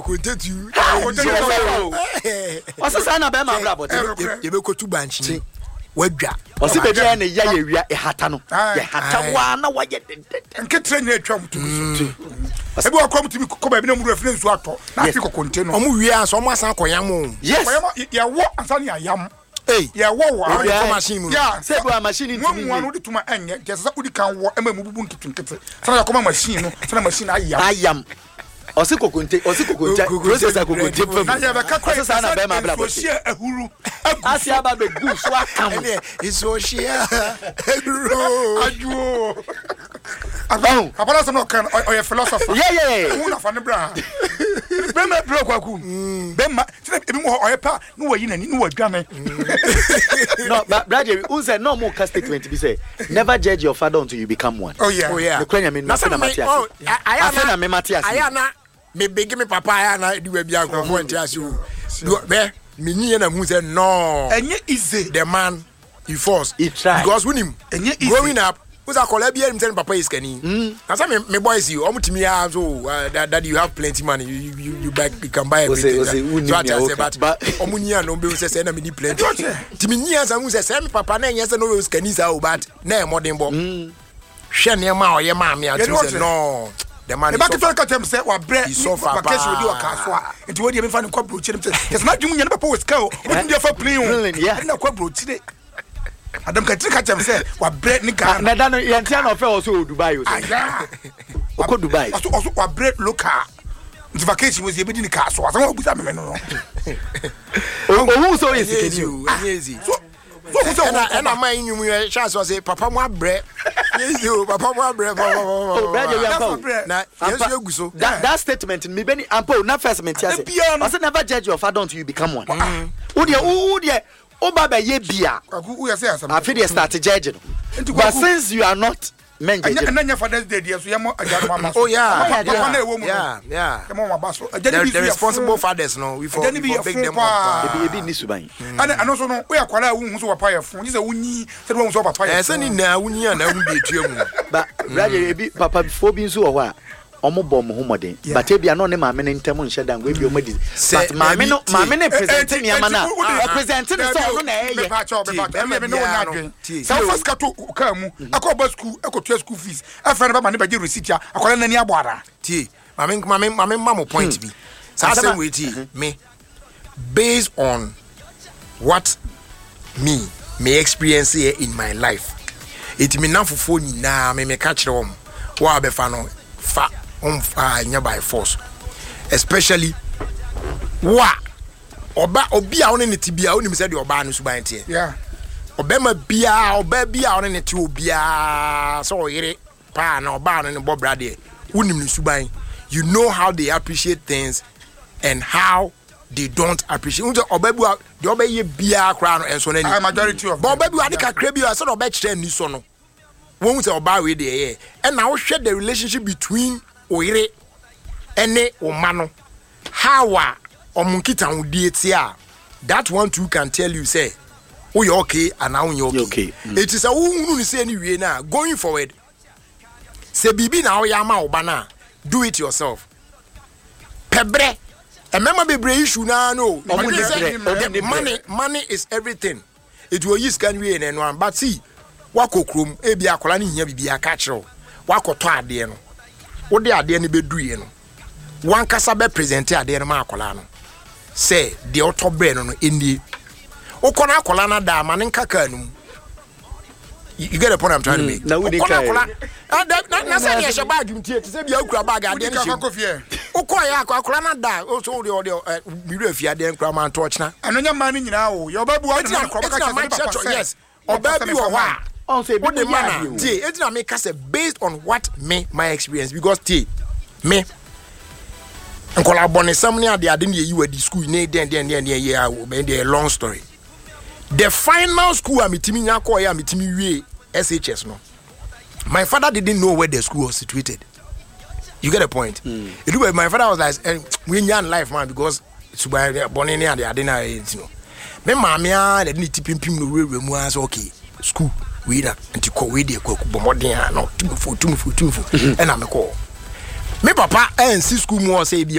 Kokonte tu. Ɔsɛ saa na bɛrima abrabɔ te. Yɛbɛkɔtu bankye wadwa. Ɔsɛ baabi a na ya yɛ wia ɛhata no yɛhata waa na wayɛ dendenden. Nketere nyina atwa mu tu so. Ebi wɔ kɔm tumi kɔ baabi na mu wura fi na nsuo atɔ na afi kokonte no. Ɔmo wie ansa ɔmo asan akɔ yam o. Yes. Yɛwɔ ansa ne yɛayam. Ei. Yɛwɔ wɔ Obi kɔ machine mu no. Sɛ ebi wɔ machine ntumi nwie. Mua no wode tuma ɛnyɛ nti ɛsɛ sɛ wodi kan wɔ ɛma emu bubu nketenkete sɛnea yɛkɔma machine no sɛnea machine ayam. Ayam. Ɔse kokonte, ɔse kokonte, process a kokonte fa mu. Na yɛbɛka kɔ Ɔse saa na bɛrima abrabɔ te. nsuohyeɛ ahuru agu Ase so. aba bɛgu so aka mo. Ɛneɛ nsuohyeɛ ahuru. Adwoo. Ɔho. Papa no asɛm na ɔka no ɔyɛ philosopher. Yeah, yeah, yeah. Wohu nafa ne bra ha. Bɛrima brɛ kwaku. Bɛrima sɛ ebi mu hɔ ɔyɛ pa ne wayi n'ani ne wadwane. No, but Brad Jerry, who said no more cast statement bi sɛ never judge your father until you become one. Oh yeah. Oh yeah. Mekura nyame no afei na mate ase. Oh, Afei na me mate ase. Ayɛ na me begi me papa ayɛ na di baabi a nkurɔfoɔ nte ase o. Bɛ me nyi yɛ na mu sɛ no. Ɛnyɛ easy. The man he force. He try. Because wunim. Ɛnyɛ easy. Growing up. Wusa akɔla bi anim sɛ ne papa yɛ sikani. Na sɛ me boys yi ɔmo tumi ya so daddy you have plenty money you buy you can buy everything. Ose wunim so ati nea ase woka. but But ɔmo nyi ano bɛ sɛ sɛ na me ni plenty. Ti me nyi ansa hu sɛ sɛ me papa na ɛnyɛ sɛ na ɔyɛ sikani saa o but na ɛyɛ mmɔden bɔ. Hwɛ nneɛma a ɔyɛ maa me ati sɛ no the man is so. Eba ketewa ka kyerɛ me sɛ wabrɛ He suffer vacation odi wɔ kaa so a nti wɔde mefa no nkɔ aburokyire sɛ kyɛ sɛ n'adwene mu nyɛ ne papa wɔ sika o wotumi de afa plane o ɛde na kɔ aburokyire. Adam Katiri ka kyerɛ me sɛ wabrɛ ne Ghana. Na da no yɛn tia na ɔfɛ wɔ so wɔ Dubai o sɛ. Ɔkɔ Dubai. Ɔso ɔso wabrɛ local nti vacation wɔ si ebedi ne kaa so asɛm a obusa me no no. Ohun sɛ ɔyɛ sikani o. Ɛnyɛ easy. So so ohun sɛ ɛna ɛna maa yi nnwom yɛ hyɛ ase ɔsɛ papa mu abrɛ. Ɛnyɛ easy o papa mu abrɛ papa Oh, brɛ deɛ yɛmfa o. Na yɛn nso egu so. That statement mi bɛ ni ampa o na first mi ti ase. Ɔsɛ never judge your father until you become one. Wo deɛ wo deɛ o ba bɛ yɛ bia. Afi deɛ start judge no. But since you are not men judge. Ɛnɛ nyɛ Father's Day deɛ so yɛ mɔ agya no aba so. Oh yeah. Papa na ɛwɔ mu no. Yeah. Yɛ mɔ wɔn aba so. Agya ni bi The nso yɛ responsible fun. fathers no we for Agya ni bi we for yɛ big fun them up. paa. Ebi ebi ni suban. Ɛna ɛno nso no woyɛ akwadaa a wohu sɛ papa yɛ fun gye sɛ wonyi sɛ de wohu sɛ papa yɛ Ɛɛ sɛ ne fun. nyinaa wonyi a na wohu deɛ etua mu. Ba brother ebi papa foɔ bi nso wɔ hɔ a ɔmo bɔ ɔmo ho mmɔden but ebi ano ne maame ne ntɛm nhyɛ da ngo ebi ɔmo adi Sɛ but maame no dabi, tie. maame ne present Enti- nneɛma no enti a wo- ɔpresent ne sɛ Dabi o, ɔno na ɛyɛ mepa kyɛw, Tie, mepa kyɛw, bɛrima ɛnna me ne wo biara nyɛ no, adwene. tie. Sɛ wofa sika to wo kaa mu ɛkɔ ɔba sukuu ɛkɔtua school fees ɛfrɛ no bɛma ne bɛgye receipt a akwadaa no n'ani abɔ ara. Tie, maame maame maame ma mo point bi. Saa Asɛm a- asɛm wei tie me based on what me me experience here in my life. Eti me namfofoɔ nyinaa me meka kyerɛ wɔn wɔn a bɛfa no fa ɔmfa nyɛ by force especially wo a ɔba obi a ɔne ne te bia onim sɛ deɛ ɔbaa no suban teɛ. Yeah. Ɔbɛma biara ɔbaa bi a ɔne ne te obiara sɛ ɔyere paa na ɔbaa no ne bɔ bra deɛ wonim ne suban, you know how they appreciate things and how they don't appreciate. N sɛ ɔbaa bi wa deɛ ɔbɛyɛ biara koraa no ɛnso n'ani Ah, majority of bɔn them. ɔbaa bi wa ade kakra bi wa sɛ na ɔbɛkyerɛ ani so no wɔn sɛ ɔbaa wei deɛ ɛyɛ ɛna wohwɛ the relationship between oyere ɛne ɔma no how a ɔmo nkitahodie te a that one too can tell you sɛ woyɛ okay anaa wonyɛ okay, Okay. Eti sɛ wohunu ne sɛ ne wie no a going forward sɛ biribi na woyɛ ama wo ba no a do it yourself. Pɛ berɛ mmarima bebree issue naa no Ɔmo ni sɛ brɛ, ɔmo ni brɛ. Money is everything. Eti oyi sika no wie na ɛno an but see wakɔ kurom ebi akwadaa no hia biribi aka kyerɛ wo wakɔtɔ adeɛ no wode adeɛ no bɛduiɛ no wankasa bɛ present adeɛ no ma akwadaa no sɛ deɛ ɔtɔ brɛ no nie wokɔ no akwadaa no ada ama ne nka kaa no mu. You get the point I'm trying to make? Na wodi Wokɔ no kaa yi. akwadaa na sɛ deɛ ɛhyɛ bag mu tie te sɛ bia wokura bag adeɛ Wodi no ka hyɛ mu kɔ fie. wokɔ yɛ akɔ akwadaa no ada o so wode ɔde ɛ mewura fie adeɛ nkura ma nto ɔkyena. Ɛno nyɛ mmaa no nyinaa o. Yɛ ɔbaa bi wɔ hɔ a Eti na ne ma no korɔ, ɔbɛka eti na kyerɛ sɛ ma ne papa kyerɛ sɛ yes papa ɔbaa sɛ bi mefa wɔ hɔ ma a Ɔn sɛ ebi wode mo ma yɛ na adeɛ o. tie eti na meka sɛ based on what me my experience because tie me nkɔla abɔnesɛm ne ade ade ne yɛyi wadi school ne den den den den yɛ a bɛn deɛ long story. The final school a metumi nya kɔɔ yɛ a metumi wie SHS no, my father didn't know where the school was situated. You get the point? It was, my father was like, we nyan life man because suban bɔne ne ade ade na ɛyɛ nti no. Me maame a na de ne ti pimpim no wurawura mu a sɛ okay school wei na nti kɔ wei deɛ kɔ bɔ mmɔden a na tumufo tumufo tumufo ɛna mekɔ. Me papa ɛnsi school mu hɔ sɛ ebi